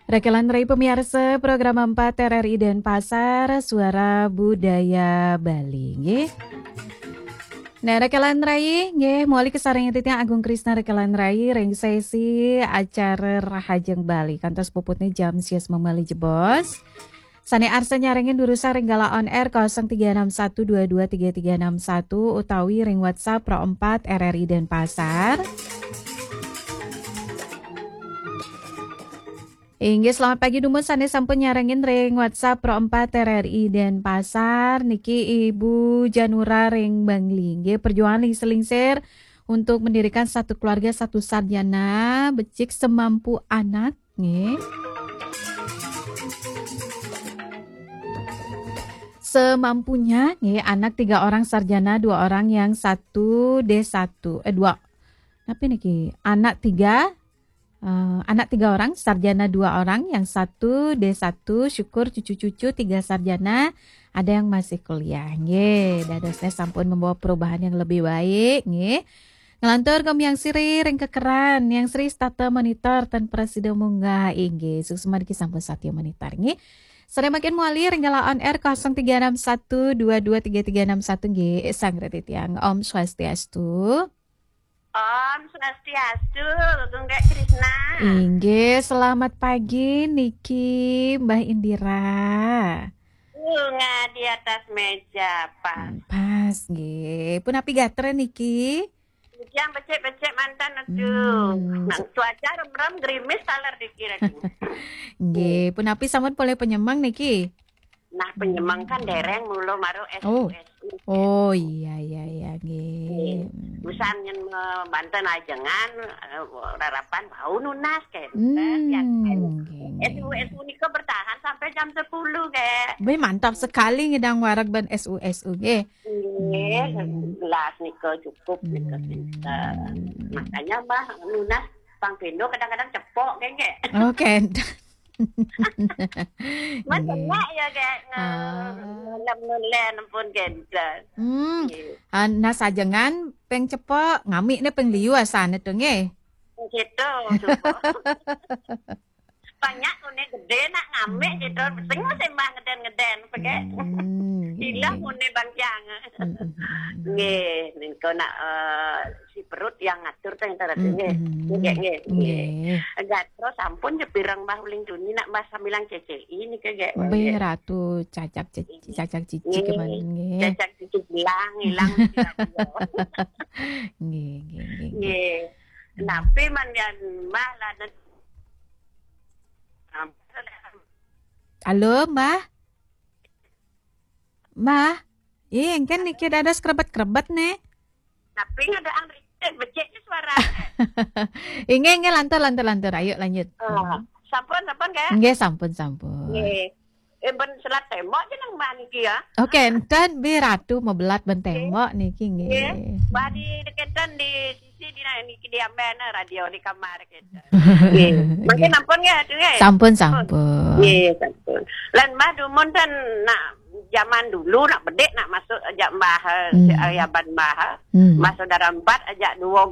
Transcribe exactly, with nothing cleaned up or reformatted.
Rekelan rai pamiarsa program empat R R I Denpasar, Suara Budaya Bali, nggih. Nah, rekelan rai, nggih, mawali kasarengin titiang Agung Krisna rekelan rai ring sesi acara Rahajeng Bali. Kantos puputne jam sias memali jebos. Sane arsa nyarengin durusang ring galah on air kosong tiga enam satu dua dua tiga tiga enam satu utawi ring WhatsApp Pro empat R R I Denpasar. Inggih, selamat pagi dumun sane sampun nyarengin ring WhatsApp Pro empat R R I Denpasar. Niki Ibu Janura ring Bangli. Inggih, perjuangan lingsir-lingsir untuk mendirikan satu keluarga satu sarjana, becik semampu anak, nggih. Semampunya, nggih, anak tiga orang sarjana, dua orang yang satu D satu, eh, dua. Tapi niki, anak tiga, eh, anak tiga orang, sarjana dua orang, yang satu D satu, syukur cucu-cucu tiga sarjana, ada yang masih kuliah. Nggih, dadosnya sampun membawa perubahan yang lebih baik, nggih. Nglantur Gem Yang Sri ring kekeran, Yang Sri setata monitor tan prasida munggah, inggih. Suksma niki sampun satya monitor, nggih. Sare mangkin mawali ring galah on air kosong tiga enam satu dua dua tiga tiga enam satu, nggih. Sang reti tiang. Om Swastiastu. Om Swastiastu, Gung Dek Krisna. Inggih, selamat pagi niki Mbah Indira. Bunga di atas meja, pas. Hmm, pas, nggih. Punapi gatra niki? Hujan becik-becik mantan, aduh. Hmm. Nang cuaca remrem gerimis taler dikira. Nggih, punapi sampun polih penyemeng niki? Nah, penyemeng kan dereng mula maru. Oh. S U S U. Oh, iya, iya, iya, nggih. Nggih. Usan nyen me-, banten ajengan, eh, rarapan bau nunas, kan. Hmm, ya, kan. Nggih, nggih. S U S U nika bertahan sampai jam sepuluh, Kak. Wih, mantap sekali ngidang wareg ban S U S U, nggih. Nggih, hmm, gelas nika cukup nika, hmm, pinter. Makanya, Mbah, nunas pang pindo kadang-kadang cepok, nggih, nggih. Oh, kenten. Mas, nggih, enak ya, Kak, nge-, ah, ngelem-ngelem pun kenten. Hmm. Nggih. Ah, nah, sajengan peng cepok, ngamikne peng liu asane to, nggih. Gitu, cukup. Banyak kone gede nak ngamik gitu. Hmm. Sing sembah ngeden-ngeden, pege. Hmm, nggih, ilang nggih, kone bangkiang. Hmm, hmm, hmm, hmm. Nggih, ningko nak, eh, si perut yang ngatur teh, entar, hmm, nggih. Hmm. Nggih, nggih, nggih. Nggih. Gatra sampun je pirang Mbah uling tuni nak Mbah samilang C C I niki, nggih. Nggih, nggih. Ratu cacak ceci, nggih, cacak cici, nggih, kemana, nggih. Cacak cici hilang, hilang di radio. Nggih, nggih, nggih, nggih. Nggih. Napi man yan Mbah lah nen-, halo, Mbah? Mbah? Ih, engken niki dados krebet-krebet, ne. Tapi ngadaan becik, becik suara. Inggih, inggih, lantur, lantur, lantur. Ayo, lanjut. Ah, sampun, sampun, Kak? Nggih, sampun, sampun. Nggih. Eh, ben selat tembok je nang Mbah niki ya. Oke, enten bi ratu mebelat ben tembok niki, nggih. Nggih. Mbah di dekenten di sisi di na-, niki di amben radio di kamar kita. Nggih. Mungkin, nggih, ampun nggih, Ratu, nggih? Sampun, sampun. Nggih, sampun. Lan Mbah dumun ten nak zaman dulu nak bedik nak masuk ajak Mbah, eh, hmm, si Ayaban Mbah, eh. Hmm. Mbah saudara empat ajak dua